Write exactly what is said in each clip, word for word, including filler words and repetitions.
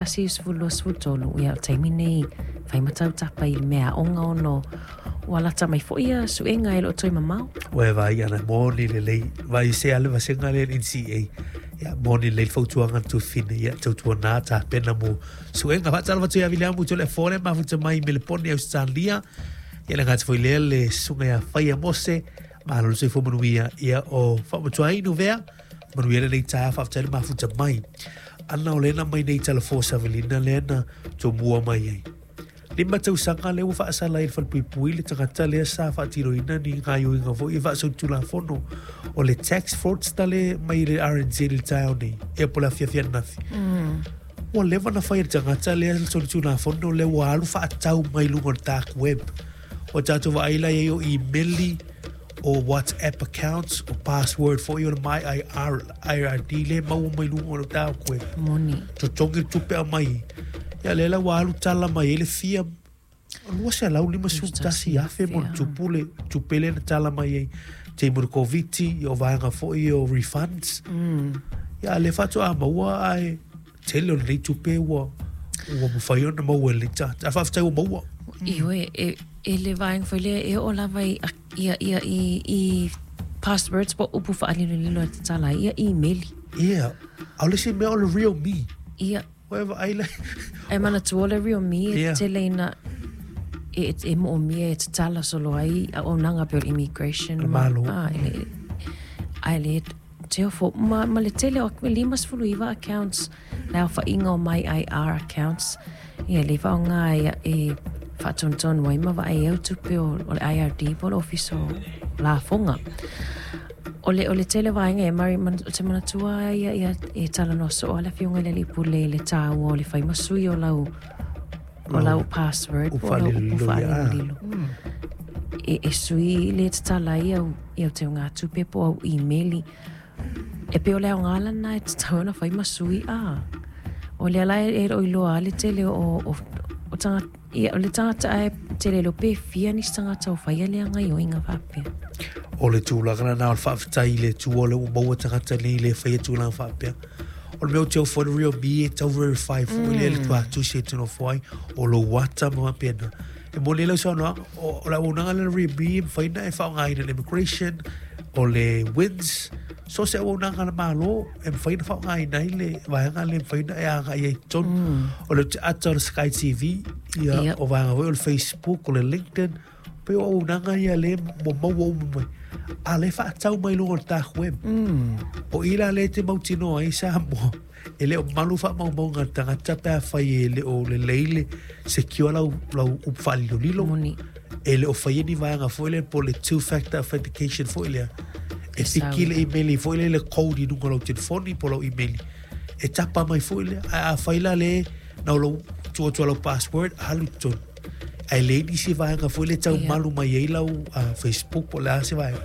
Tasi sefulu lua sefulu tolu, ia o le taimi nei fai ma tau tapa i le meaaoga ona ua lata mai foi ia suega e le o toe mamao. Ua e vaai ana moni lelei, vaai se a le vasega lea le N C A. Ia moni lelei le fautuaga na tufine, ia tautuana tapena mo suega. Faatalofa atu ia Viliamu tole fole mafuta mai Melepone Australia. Ia le gata foi lea le susuga ia Faia Mose, malo le soifua manuia, ia o faamatuainu vea, manuia lenei taeao faafetai le mafuta mai. Ana o lena mai nei talafo savalina lea na tomua mai ai. Lima tausaga lea ua faasala ai le falepuipui le tagata lea sa faatinoina ni gaioiga foi e faasolitulafono o le tax fraudster le mai le R N Z i le taeao nei, ia po o le afiafi ananafi. Ua leva na fai e le tagata lea le solitulafono lea ua alu faatau mai luga o le dark web. O tatou vaai la i ai o email o WhatsApp accounts o password foi o le my I R, I R D le maua mai luga o le dark web. Moni. Totogi le tupe au mai. Ia le la ua alu tala mai ai le fia lua selau lima sefulu tasi afe mo le tupu le tupe le na tala mai ai. Te mo le COVID, ia o vaega foi o refunds. Ia le faatoa maua ai tele o lenei tupe ua ua mafai ona maua e le tagata. A faafetai ua maua. Ioe, e, e le vaega foi lea e oo lava i ia, ia, i, i passwords po upu faalilolilo e tatala ai, ia email. Ia, a o le isi mea o le real me. Ia. Ua e vaai le E manatua le real me e Ia. tele ina e, e moomia e tatala solo ai a auaunaga pe o le immigration Le ma- malo. ah, e le, a e le te ofo, ma, ma le tele o lima sefulu iva accounts, le aofaiga o my I R accounts, ia le faaaoga ia e faatonutonu ai ma vaai au tupe o, o le I R D po o le ofisa o lafoga. O le, o le tele vaega e mari man, o te manatua ia, ia e talanoa soo a le afioga i le alii pule i le taua o le fai ma sui o lau, o lau password po o lau upu faalilolilo. E, e sui le tatala ai au, i au teuga tupe po o au email. E pei o le aoga lana e tatau ona fai ma sui, a. O lea la e, e o iloa a le tele o, o, o tanga, ia, o le tagata ae tele leo pe fia nisi tagata o faia lea gaioiga faapea. O le tulaga lena o le faafetai i le Atua o le ua maua tagata nei le faia tulaga faapea. O le mea o te ofo le real me e tau verify foi lea le tuatusi e te nofo ai, o lou ata ma faapena. E moni ai lau saunoaga, o, o le auaunaga lea le real me e mafai ona e faaaogaina le immigration, o le W I N S, so se auaunaga a le Malo e mafai ona faaaogaina ai le vaega lea e mafai ona e agai ai i totonu. O le ata o le Sky T V, ia, Yep. o vaega foi o le Facebook, o le LinkedIn, pe o auaunaga ia le mo maua uma mai. A le faatau mai luga o le dark web. O i la le te mautinoa ai Samoa. E le o malu faamaumauga a le tagata pe a fai e le o lelei le secure lau, lau upu faalilolilo. Moni. E le o faia ni vaega foi lea po o le two-factor authentication foi lea. E E piki sau. le email foi lea le code i luga o lau telefoni po o lau email. E tapa mai foi lea. A, a fai la le na o lau tua tua lau password, alu i totonu. Ae le nisi vaega foi lea tau Ia. malu mai ai lau, ah, Facebook po o le a se vaega.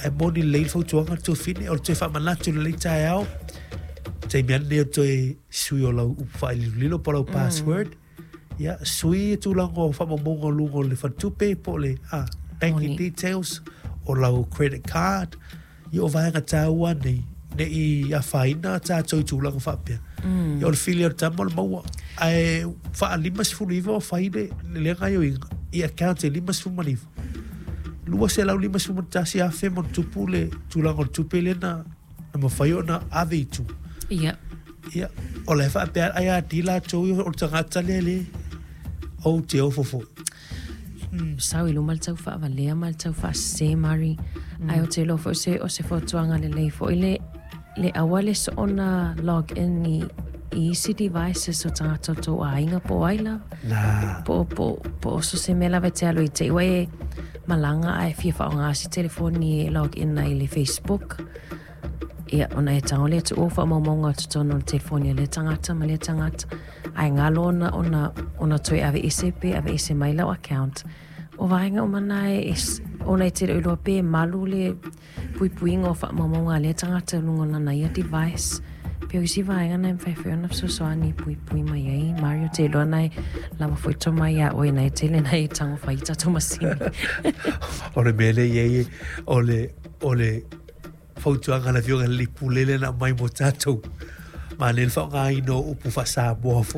Ae moni lelei le fautuaga le tofine, o le toe faamanatu lelei taeao. Taimi ane nei o toe sui o lau upu faalilolilo po o lau Mm. password. Ia, sui e tulaga o faamaumauga o luga o le faletupe po o le, ah, banking Moni. details o lau credit card. Ia o vaega taua nei, ne i afaina tātou i tulaga faapea. Mm. Ia o le fili o le tama o le maua. Ae faalima sefulu iva o fai le, le lea gaioiga i account e lima sefulu ma le iva. Lua selau lima sefulu ma tasi afe mo le tupu le tulaga o le tupe lea na, na mafai ona ave i tua. Ia. Ia, o le faapea ai a ti latou ia o le tagata lea le o te ofo foi. Mm. Sau i luma le tau faavalea ma le tau faasese, Mari. Mm. Ai o te iloa foi se, o se fautuaga lelei foi le, le aua le soona log in i, i isi devices o tagata o tou aiga po o ai lava. Nā. Po, po, po o so se mea lava e te alo i te iwa e malaga ae fia faaaoga se telefoni e log in ai i le Facebook. Ia, ona e tago lea tuua faamaumauga o totonu o le telefoni a lea tagata ma lea tagata. Ae galo ona, ona, ona toe aveese pe aveese mai lau account. O vaega uma na e, e s-, ona e te leo iloa pe malu le puipuiga o faamaumauga a lea tagata i luga o lana ia device. Pe o isi vaega na e mafai foi ona fesoasoani e puipui mai ai. Mario, te iloa na e lava foi toma ia oe na e tele na e tago fai i tatou masini. O le mea lea i ai e, o le, o le fautuaga a le afioga i le alii pule lea na aumai mo tatou. Ma le faaaogaina o upu faa-Samoa foi.